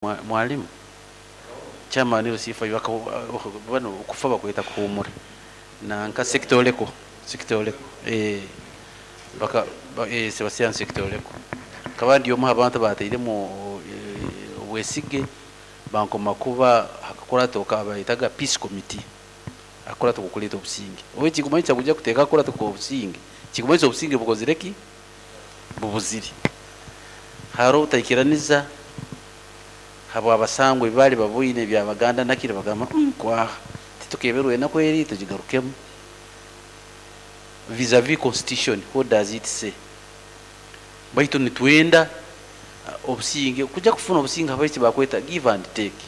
Mwalimu chairman LC5 bano okufa bakweta kuhumura nanka Sekitoleko Sekitoleko baka Sebastian Sekitoleko nkaba ndi omu abantu batairemu obwesige bankoma kuba hakakurato kabayitaga peace committee akurato kukuleta obusinge owe kikumanyisa kuja kuteeka akurato obusinge kikumanyisa obusinge bukozire ki bubuzire haro obutaikiraniza habwa abasangwa ebibali baboine ebyabaganda nakiri bagamba kwaha titukeberwe enaku eri tugigarukemu vis-a-vis constitution. What does it say? Baitu nitwenda obusinge kuja kufuna obusinge habaitu bakweta give and take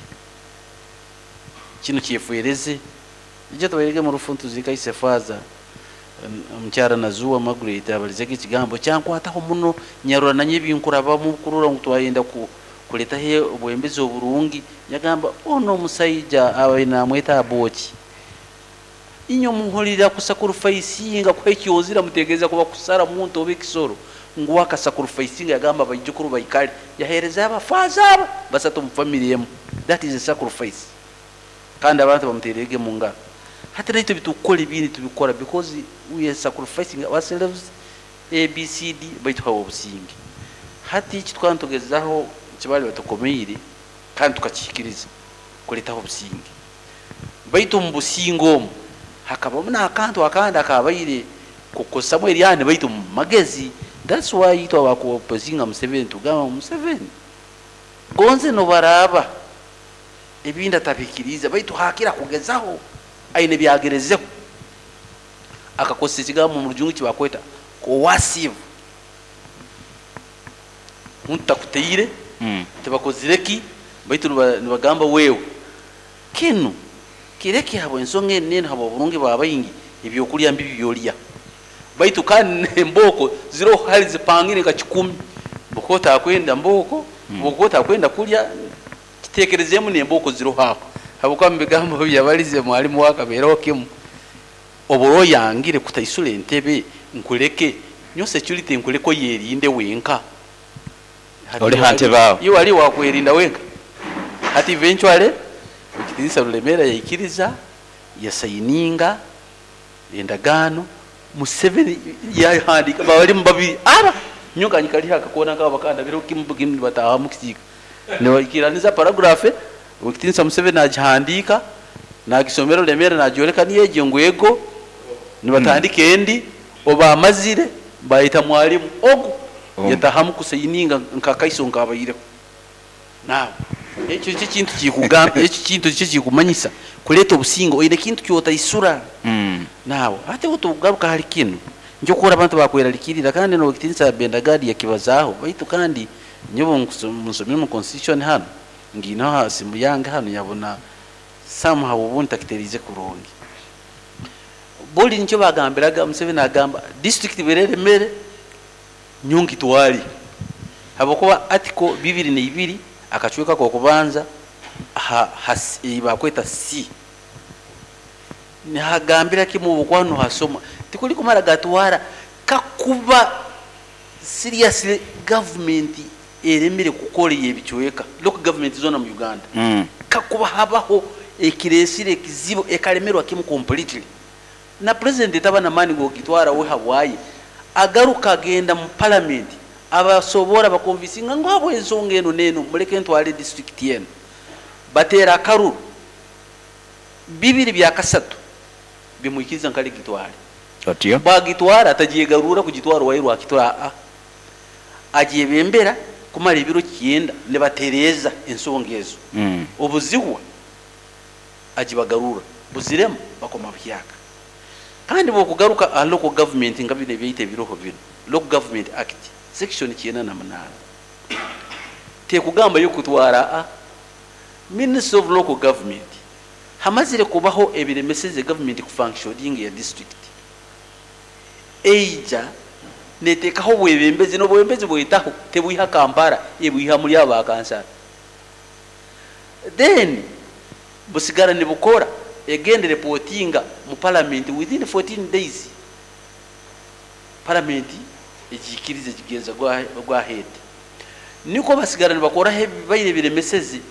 kino kyefwereze ijja tubairege mu rufu ntuzika ise faza omukyara Nazuwa Margaret abalizege ekigambo kyankwataho muno nyarura nanye ebinkurabamu kurora ngu twayenda kuletaho obwembezi oburungi. Yagamba ono omusaija abaire namweta Aboki inywe muhurira kusacrificinga kuha ekyozira mutegereza kuba kusara muntu oba ekisoro ngu akasacrificinga yagamba abaijukuru baikale yahereza abafaza abo basatu omu family emu. That is a sacrifice kandi abantu bamuterege mu ngaro. Hati naitwe bitukukora ebindi tubikora because we are sacrificing ourselves ABCD baitu hawe obusinge. Hati eki tukaba nitugezaho kibali batukomeire kandi tukakihikiriza kuletaho obusinge baitu omu businge omu hakabamu n'akantu akandi akabaire kukosamu eryani baitu mu magezi. That's why itwe abakuopozinga Museveni tugamba Museveni gonze nobaraba ebindi atabikiriza baitu hakira kugezaho aine byagerezeho akakozesa ekigambo mu rujungu kibakweta coercive muntu takuteire tibakozire ki baitu nibagamba wewe kinu kireke habwa ensonga eni neni habwa oburungi bwa baingi ebyokulya mbibi byolya baitu kandi emboko ziroho hali zipangire nka 10 bwokuba otakwenda mboko bwokuba otakwenda kulya kitekerezemu nemboko ziroho aho habwokuba mu bigambo byabalize mwalimu wakabeeraho kimu oba oyangire kutaisura entebe nkuleke nyo security nkuleke oyerinde wenka. Oli ha ntebe aho. Iwe wali wakwerinda wenka. Hati eventually Ekitinisa Rulemera yaikiriza yasayininga endagaano Museveni yahandika balimu babiri aba nyoka nyikali akakona kaba bakanda biro kimu kimu bataha mu kisiika nibaikiraniza paragraph Ekitinisa Museveni agihandika nagisomera Rulemera nagyoleka niyeje ngwego nibatandika endi oba amazire bayita mwalimu ogu yatahamu kusayininga nkakaiso nkabaireko. Nawe ekyo kyo kintu kikugamba ekyo kintu kyo kikumanyisa kuleta obusingo oine kintu kyotaisura. Nawe ate otugaruka hali kinu njokora abantu bakweralikirira kandi no Ekitinisa Bendagadi yakibazaho baitu kandi nyobo nsomire mu constitution hano ngino ha simu yange hano yabona somehow ubundi takiterize kurungi boli nicho bagambiraga Museveni agamba district berere mere nyongi twali habokuba article 22 akachweka kwa kubanza bakweta C nihagambira kimu bukwano hasoma tikuli kumara gatwara kakuba seriously government eremere kukora ebichweka local government zona mu Uganda kakuba habaho ekiresire ekizibu ekalemerwa kimu completely na president taba na mani gokitwara we habwaye agaruka agenda mu parliament abasobora bakonvisinga ngo abo ensonga eno neno muleke ntwale district yenu batera akaruru 2/3 bimuikiriza nkali gitwale otyo bagitwara atajiyegarura kugitwara wairwa akitora a ajebembera kumara ebiro 9 ne batereza ensonga ezo obuzihwa ajibagarura buziremu bakoma byaka kandi bokugaruka a local government nga bine byite biroho bino local government act section 98 tekugamba yo kutwara a minister of local government hamazire kubaho ebiremeseze government kufunctioning ya district eija netekaho bwebembezi n'obwembezi bwetaho tebwiha Kampala ebwiha muri aba kansara then busigara nibukora egende reportinga mu parliament within 14 days parliament ejikirize kigenza gwa head Niko basigara nibakoraho ebibaire biremeseze.